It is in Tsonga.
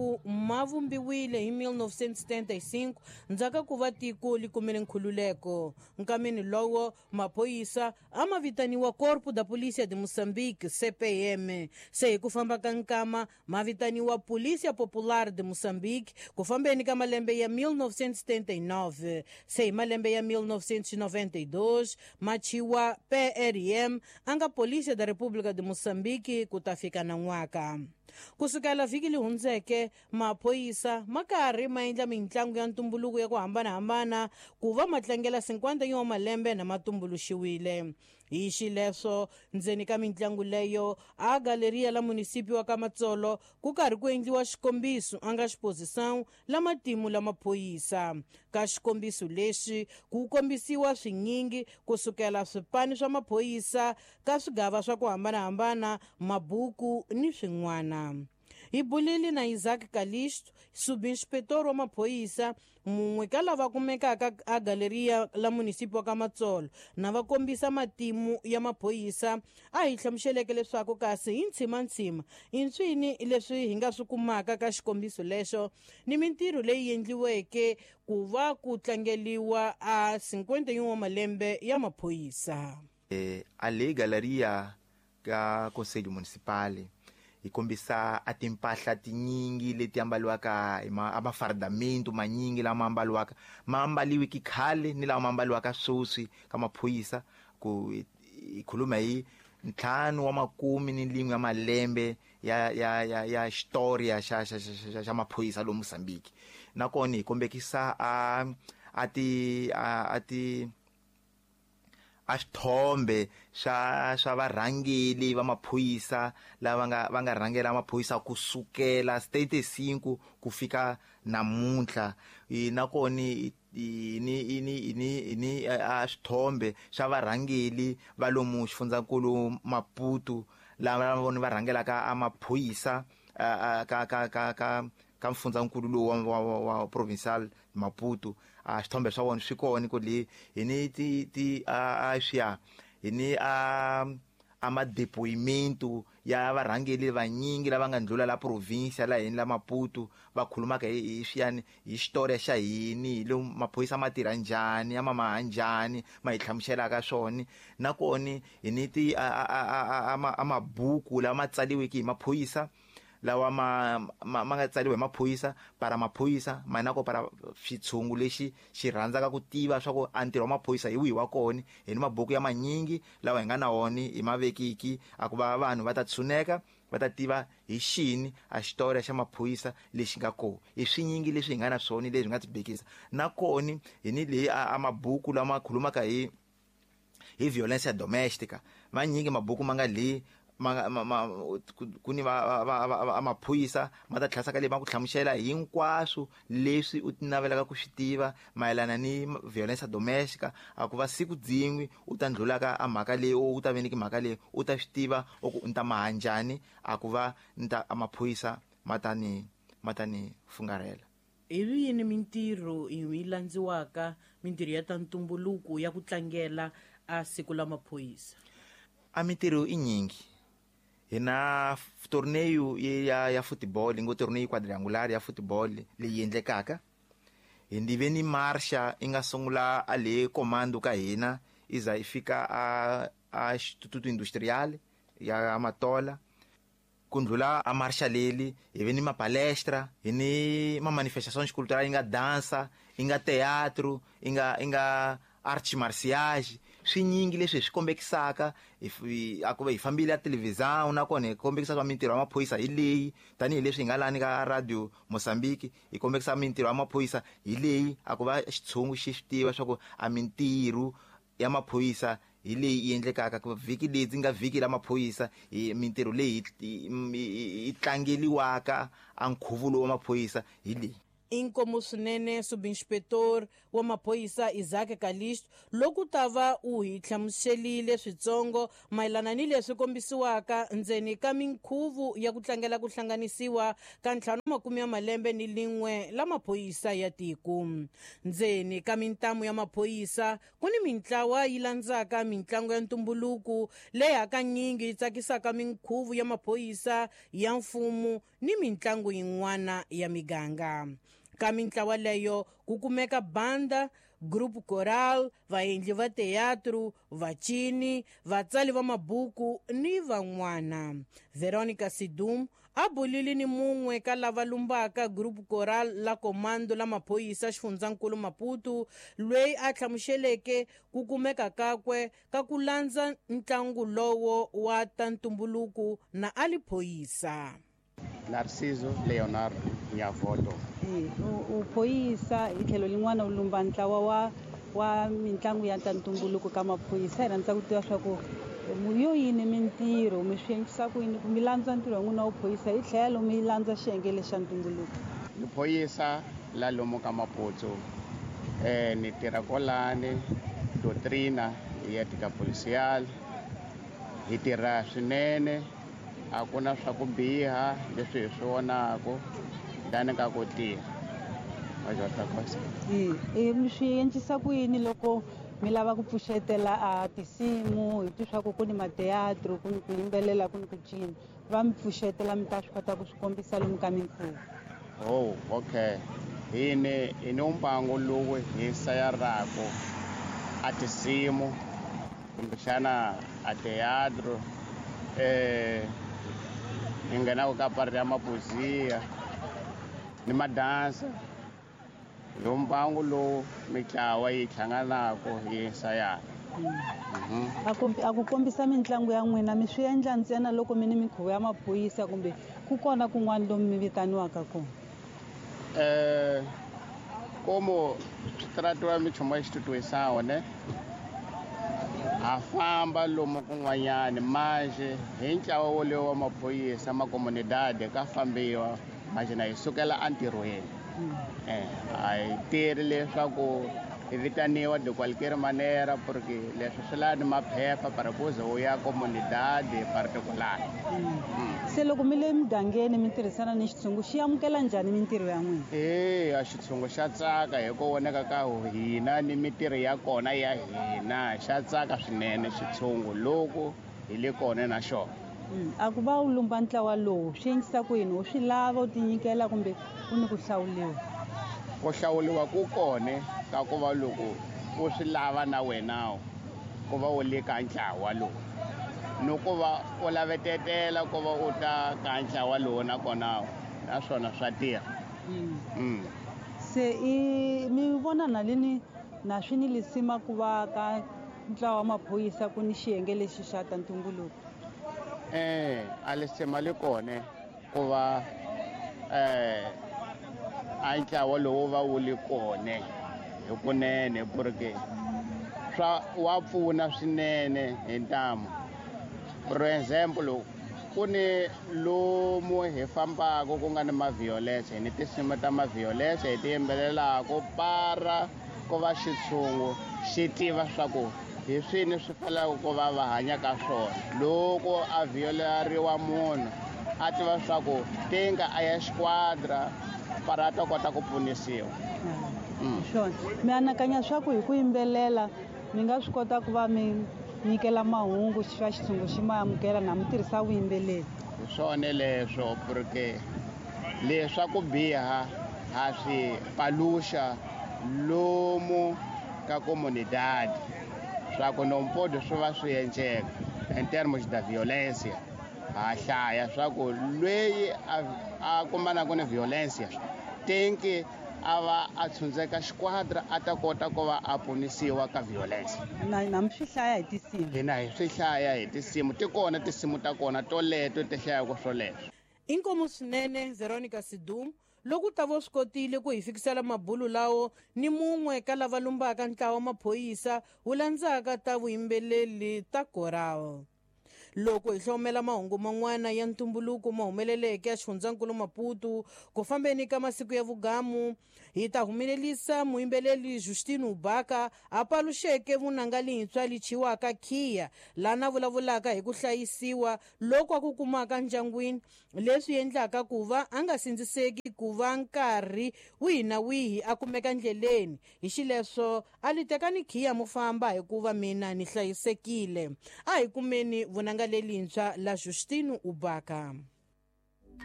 Leswaku ma vumbiwile hi 1975 ndzhaku ku va tiko li kumile nkhululeko. Nkameni lowo maphoyisa a ma vitaniwa Corpo da Polícia de Moçambique, CPM. Se hi ku famba ka nkama ma vitaniwa Polícia Popular de Moçambique ku fambeni ka malembe ya 1979. Se hi malembe ya 1992 ma chiwa PRM a nga Polícia da República de Moçambique ku ta fika nan'waka. Kusukela vhiki li hundzeke maphoyisa ma karhi ma endla mitlangu ya ntumbuluko ya ku hambanahambana ku va ma tlangela 51 wa malembe na ma tumbuluxiwile. Hi xileswo ndzeni ka mitlangu leyo a galeria la munisipi wa ka Matsolo ku karhi ku endliwa xikombiso a nga exposição la matimu la maphorisa. Ka xikombiso lexi ku kombisiwa swinyingi kusukela swipani swa maphorisa ka swigava swa ku hambanahambana, mabuku ni swin'wana. Hi bulile na Isaac Kalisto, subinspetor wa maphorisa, mun'we ka lava kumekaka a galeria la munisipi wa ka Matsolo, na va kombisa matimu ya maphorisa. A hi hlamuseleke leswaku kasi hi ntshimantsima i nswini leswi hi nga swi kumaka ka xikombiso lexo ni mintirho leyi endliweke ku va ku tlangeliwa a 51 wa malembe ya maphorisa. A le galeria ka Conselho Municipal hi kombisa a timpahla tinyingi leti ambaliwaka hi a mafardamento manyingi lama ambaliwaka, ma ambaliwiki khale ni lama ambaliwaka sweswi ka maphorisa. Ku hi khuluma hi 51 ya malembe ya historia xa maphorisa lomu Mozambique. Nakona hi kombekisa a ti a ti a xithombe swa varhangeli va maphorisa lava va nga rhangela maphorisa kusukela 75 ku fika namuntlha. Nakona ni a xithombe xa varhangeli va lomu xifundzankulu Maputo lava vona va rhangelaka a maphorisa ka mfundzankulu lowu wa provincial Maputo. A xithombe swa vona swi kona ku le hi ni ti a swiya hi ni a madepoimento ya varhangeli vanyingi lava nga ndlula la provincia la hini la Maputo, va khulumaka hi swiyani hi xitoriya xa hini, hi lomu maphorisa ma tirha njhani, ya mamaha njhani, ma hi hlamuselaka swona. Nakona hi ni ti a mabuku lama tsaliweke hi maphorisa, lawa ma nga tsaliwa hi maphorisa para maphorisa, ma na ko para xitshungu lexi xi rhandzaka ku tiva swa ku a ntirho wa maphorisa hi wihi wa kona. Hi ni mabuku ya manyingi lawa hi nga na wona hi mavekiki a ku va vanhu va ta tshuneka va ta tiva hi xini a xitoriya xa maphorisa lexi nga kona. I swinyingi leswi hi nga na swona leswi hi nga tibekisa. Nakona hi ni leyi a mabuku lama khulumaka hi violencia domestica, manyingi mabuku ma nga le ku ni va maphorisa ma ta tlhasaka leyi ma ku hlamusela hinkwaswo leswi u ti navelaka ku swi tiva mayelana ni violencia domestica. A ku va siku dzin'we u ta ndlulaka a mhaka leyi, u ta veneki mhaka leyi, u ta swi tiva u ku ni ta maha njhani, a ku va ni ta a maphorisa ma ta ni fungarhela. Hi yini mintirho yi landziwaka, mintirho ya ta ntumbuluko ya ku tlangela a siku la maphorisa? A mintirho i nyingi. Hi na torneyo ya football, ngo torneyo quadrangular ya football leyi endlekaka. Hi ndive ni marcha yi nga sungula a le comando ka hina i za i fika a Instituto Industrial ya Matola. Ku ndlula a marcha leli hi ve ni mapalestra, hi ni ma manifestations culturales, yi nga dansa, yi nga teatro, yi nga arts martiales, swinyingi leswi hi swi kombekisaka. A ku va hi fambile a televisão, nakona hi kombekisa swa mintirho ya maphorisa hi leyi, tanihileswi hi nga lani ka Radio Mozambique hi kombekisa mintirho ya maphorisa hi leyi, a ku va xitshungu xi swi tiva swa ku a mintirho ya maphorisa hi leyi yi endlekaka. Ku vhiki leyi nga vhiki la maphorisa hi mintirho leyi yi tlangeliwaka a nkhuvo lowu wa maphorisa hi leyi. Inkomu swinene subinspetor wa maphorisa Isaac Kalisto loko ta va u hi hlamuselile switsongo mayelana ni leswi kombisiwaka ndzeni ka minkhuvo ya ku tlangela ku hlanganisiwa ka 51 la maphorisa ya tiko. Ndzeni ka mintamu ya maphorisa ku ni mintlawa yi landzaka mintlangu ya ntumbuluko leyi hakanyingi yi tsakisaka minkhuvo ya maphorisa ya mfumo ni mintlangu yin'wana ya miganga. Ka mintlawa leyo ku kumeka banda, group choral, vaendli va teatro, vacini, vatsali va mabuku ni van'wana. Veronica Sidum a bulile ni mun'we ka lava lumbaka group choral la Comando la maphorisa xifundzankulu Maputo, loyi a hlamuseleke ku kumeka kakwe ka ku landza ntlangu lowo wa ta ntumbuluko na a li phorisa. Narciso Leonardo Nyavoto. U phorisa hi tlhelo lin'wana u lumba ntlawa wa mitlangu ya ta ntumbuluko ka maphorisa. Hi rhandza ku tiva swa ku yo yini mintirho mi swi endlisa ku yini ku mi landza ntirho wa n'wina wo phorisa hi tlhelo mi landza xiyenge lexa ntumbuluko? Ni phorisa la lomu ka Maputo, ni tirha kwalani doctrina ya tika policial. Hi tirha swinene, a ku na swa ku biha leswi hi swi vonaka lani ka ku tirha. Mi swi endlisa ku yini loko mi lava ku pfuxetela a tinsimu hi twi swa ku ku ni mateatro, ku ni ku yimbelela, ku ni ku cina, va mi pfuxetela mi ta swi kota ku swi kombisa lomu ka minkhuvo? Oh, okay. Hi ni mbangu lowu hi sayaraka a tinsimu kumbexana a teatro, hi nghenaka ka pari ya mapozia ni madansa. Hi mbangu lowu mitlawa yi hlanganaka yi sayana. A ku kombisa mitlangu ya n'wina mi swi endla ntsena loko mi ni minkhuvo ya maphorisa kumbe ku kona kun'wana lomu mi vitaniwaka kona? Como swi tratiwa minchumu ya xitutuwisawo ne, ha famba lomu kun'wanyani manje hi ntlawa wolowo wa maphorisa ma comunidade ka fambiwa manje na hi sukela entirhweni. A hi tirhi leswaku hi vitaniwa de qualquer manera porque leswi swi lava ni maphepha para ku ze u ya comunidade particular. Se loko mi le mugangeni mi tirhisana ni xitshungu, xi amukela njhani mintirho ya n'wina? A xitshungu xa tsaka hi ku voneka ka hina ni mintirho ya kona ya hina, xa tsaka swinene xitshungu loko hi le kona na xona. A ku va u lumba ntlawa lowu swi endlisa ku yini? U swi lava u tinyikela kumbe ku ni ku hlawuliwa? Ku hlawuliwa ku kona ka ku va loko u swi lava na wena ku va u le ka ntlawa lowu, ni ku va u lavetetela ku va u ta ka ntlawa lowu nakona naswona swa tirha. Se mi vona na lini na swi ni lisima ku va ka ntlawa wa maphorisa ku ni xiyenge lexi xa ta ntumbuluko? A lisima li kona ku va a ntlawa lowu va wu li kona hikunene, porque swa wa pfuna swinene hi ntamu. For example, ku ni lomu hi fambaka ku nga ni ma-violence, hi ni tinsimu ta ma-violence hi ti yimbelelaka para ku va xitshungu xi tiva swa ku hi swini swi fanelaka ku va va hanya ka swona. Loko a violeriwa munhu a tiva swa ku tinga a ya xiquadra para a ta kota ku pfunisiwa. Swona mi anakanya swa ku hi ku yimbelela mi nga swi kota ku va mi nyikela mahungu xa xitshungu xi ma amukela na mi tirhisa vuyimbeleri? Hi swona leswo, porque leswa ku biha ha swi paluxa lomu ka comunidade swa ku nompodo swi va swi endleka in termos da violência. Ha hlaya swa ku loyi a kumanaka ni violência tinki a va a tshundzeka xiquadra a ta kota ku va a ponisiwa ka violence. Na mi swi hlaya hi tinsimu? Hina hi swi hlaya hi tinsimu, ti kona tinsimu ta kona toleto ti hlayaka swoleswo. Inkomu swinene Veronica Sidum loko ta vo swi kotile ku hi fikisela mabulu lawo ni mun'we ka lava lumbaka ntlawa wa maphorisa wu landzaka ta vuyimbeleri ta koral. Loko hi hlomela mahungu man'wana ya ntumbuluko ma humeleleke ya xifundzankulu Maputo ku fambeni ka masiku ya vugamu, hi ta humelelisa muyimbeleli Justino Ubaka a paluxeke vunanga lintshwa lichiwaka Khiya, lana vulavulaka hi ku hlayisiwa loko a ku kumaka ndyangwini, leswi endlaka ku va a nga sindziseki ku va nkarhi wihi na wihi a kumeka ndleleni. Hi xileswo a li tekani khiya mo famba hikuva mina ni hlayisekile. A hi kumeni vunanga lelintshwa la Justino Ubaka.